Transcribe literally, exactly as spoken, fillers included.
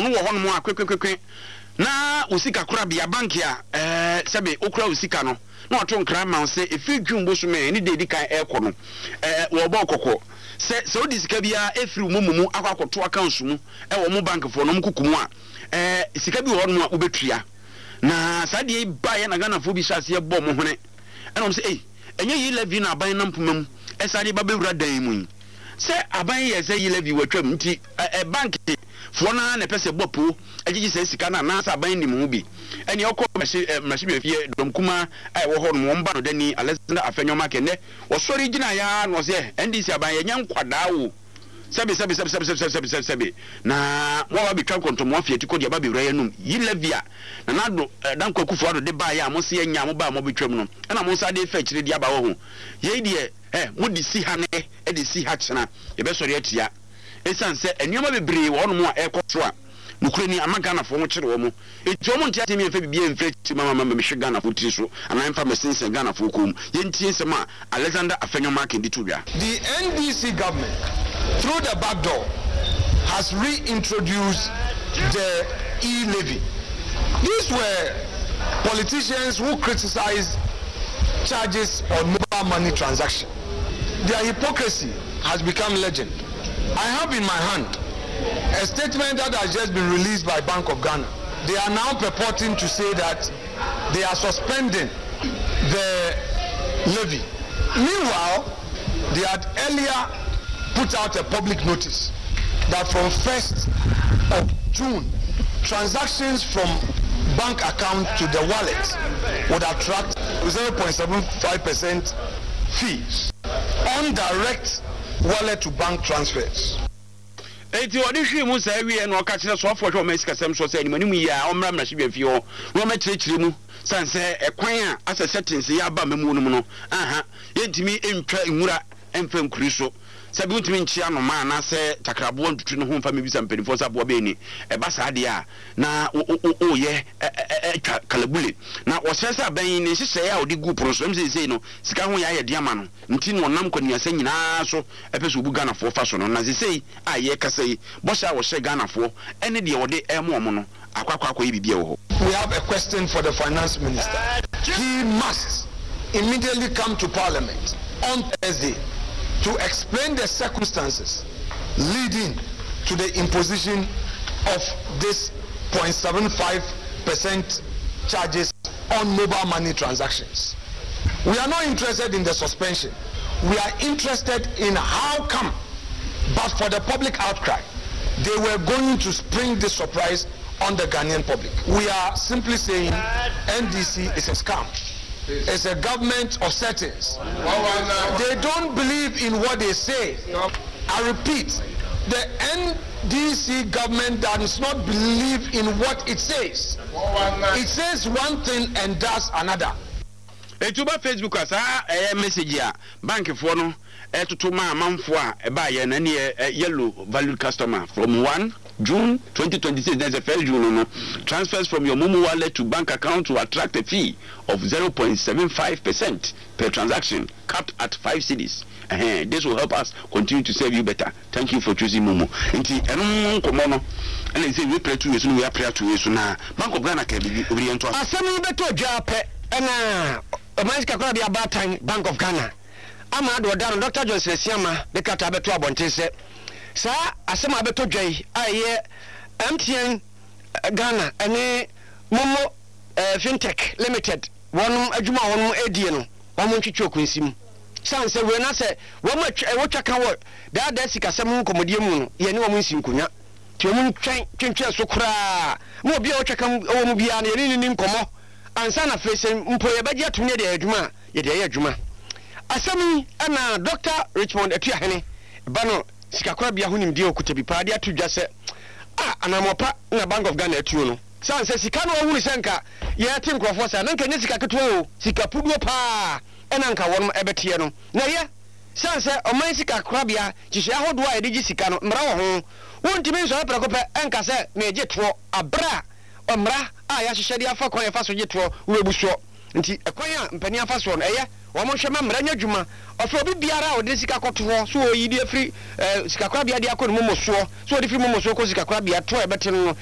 No wɔ hɔnom a kwekwekwe na wo sika korabea bank a ɛɛ sɛbe wokura wo sika no na wato nkra ma wo sɛ ɛfiri June bosome ne de edi kan ɛrekɔ no, ɛɛ wɔrebɔ kɔkɔ sɛ sɛ wode sika biara ɛfiri wo momo mu akɔ akɔto accounts mu ɛwɔ mo bankfoɔ no ɔmo kuku mu a, ɛɛ sika bi wɔ hɔnom a wobɛtua. Na saa deɛ yi baeɛ na Ghanafoɔ bi hyɛ aseɛ bɔ mo hwene ɛna wɔn sɛ, ei, ɛnyɛ yi levy na aban nam poma mu ɛsan de ba bɛwura dan mu yi sɛ aban yɛ sɛ yi levy wɔatwam nti ɛ bank foɔ naa na ɛpɛ sɛ bɔ po agyegye sɛ sika no anaasɛ aban nim ho bi. Ɛne ɔkɔ mmarahyɛbadwafie dɔm kumaa a ɛwɔ hɔ nom, wɔn ba no dani Alexander Afenyo-Markin nnɛ wɔsɔre gyina ya na ɔsɛ N D C aban yɛnyɛ nkwadaa o, sɛbi sɛbi sɛbi sɛbi sɛbi sɛbi sɛbi sɛbi, na mo a wabɛtwa nkɔntɔmɔ afi ati kɔ de aba bɛwura yɛn num yi levy a Nana Addo Dankwa Akufo Addo de baayɛ a mo se yɛnya mo ba a mo bɛtwam no ɛna mo nsa de fa akyire de aba wɔ ho yei deɛ, ɛ mo de si ha nɛ ɛde si ha kyena yɛbɛsɔre atia, ɛsiane sɛ nneɛma bebree wɔ hɔnom a ɛrekɔ so a nokura ni ama Ghanafoɔ ho kyerɛ wɔn, eti wɔn nte aseɛ mfa biribi mfiri akyiri ma ma ma mehwɛ Ghanafoɔ tiri so anaa mfa mɛsensɛn Ghanafoɔ kɔn mu. Yɛntie nsɛm a Alexander Afenyo-Markin de to dwa. The N D C government, through the back door, has reintroduced the e-levy. These were politicians who criticized charges on mobile money transaction. Their hypocrisy has become legend. I have in my hand a statement that has just been released by Bank of Ghana. They are now purporting to say that they are suspending the levy. Meanwhile, they had earlier put out a public notice that from first of June, transactions from bank account to the wallet would attract zero point seven five percent fees on direct wallet to bank transfers. Eti ɔde hwee mu saa wie na ɔka kyerɛ soafoɔ hwɛ ɔma sikasɛm so sɛ animanim yi a ɔmmra mmarahyɛbadwa fie hɔ na ɔmɛkyerɛkyerɛ mu sane sɛ ɛkwan a asɛ settings yɛ aba mamuo no mu no aha yɛntumi ntwa nwura mfa nkuri so, sɛbi wontumi nkye anoma anaasɛ takraboa ntutu ne ho mfa mebisa mpanimfoɔ sɛ aboa bɛɛ ni. Ɛba saa deɛ a na woyɛ atwa kalabule na wɔsrɛ sɛ aban ne nhyehyɛeɛ a ɔde gu pono so ɛm seesei no sika ho yɛ ayɛ de ama no nti na ɔnam kwanuasa nyinaa so ɛpɛ sɛ obu Ghanafoɔ fa so no. Na seesei a yɛrekasa yi, bɔhyɛ a wɔhyɛ Ghanafoɔ ɛne deɛ wɔde ɛmo ɔmo no akɔ akɔ akɔyɛ biribi a ɛwɔ hɔ. We have a question for the finance minister. He must immediately come to Parliament on Thursday to explain the circumstances leading to the imposition of this zero point seven five percent charges on mobile money transactions. We are not interested in the suspension. We are interested in how come, but for the public outcry, they were going to spring this surprise on the Ghanaian public. We are simply saying N D C is a scam. It's a government of settings. They don't believe in what they say. I repeat, the N D C government does not believe in what it says. It says one thing and does another. Etu ba Facebook a saa ɛyɛ message a bankfoɔ no ɛtoto ma amanfoɔ a ɛbaayɛ na ɛne yellow valued customer from one June twenty twenty-six, that's the first June no no transfers from your MoMo wallet to bank account to attract a fee of zero point seven five percent per transaction, capped at five cedis. uh-huh. This will help us continue to serve you better. Thank you for choosing MoMo. Nti ɛno nkɔmɔ no ɛna sɛ wei pere two wei so no, wei apere two wei so na Bank of Ghana ka bibi obi yɛn to aso. Asɛm yi bɛtɔ dwa pɛ ɛna ɔman sika korabea baatan Bank of Ghana ama ade ɔda no Doctor Johnson Asiama de krataa bɛto abɔnten sɛ saa asɛm a bɛtɔ dwa yi a ɛyɛ M T N Ghana ɛne MoMo eh, Fintech Limited wɔnom adwuma a wɔnom adie no, wɔn ntwitwi okunsim san sɛ wei na sɛ wɔn atwa wɔtwa ka wɔ daadaa sikasɛm ho nkɔmmɔdeɛ mu no, yɛne wɔn nsi nkonnwa nti wɔn ntwɛn twentwɛn so koraa ma obi a wɔtwa ka wɔ mu biara no yɛne ne ni nkɔmmɔ ansa na afei sɛ mpo yɛbɛgye atom ne yɛde ayɛ adwuma a yɛde ayɛ adwuma. Asɛm yi ɛna Doctor Richmond Atuahene ba no sikakorabea ho nimdeɛ okuta bi paa de ato dwa sɛ a anammɔpa na Bank of Ghana atuo no san sɛ sika no ɔhunu sɛ nka yɛte nkurɔfoɔ saa na nka nyɛ sika ketewa o, sika puduo paa ɛna nka wɔnom ɛbɛteɛ no na ɛyɛ san sɛ ɔman sika korabea nhyehyɛ ahodoɔ a yɛde gye sika no, mmara wɔ ho. Wontumi nsɔre prɛko pɛ ɛnka sɛ meegye toɔ aberɛ a mmara a yɛahyehyɛ de afa kwan yɛfa so gye toɔ wobɛbu soɔ. Nti ɛkwan a mpanin afa soɔ no ɛyɛ wɔn nhwɛ ma mmara nyɛ adwuma. Ɔfɛ obi biara a ɔde sika kɔto hɔ so ɔyi de afiri ɛɛ sikakorabea de akɔ ne momo soɔ so ɔde firi momo soɔ kɔ sikakorabea toɔ a ɛbɛte no no.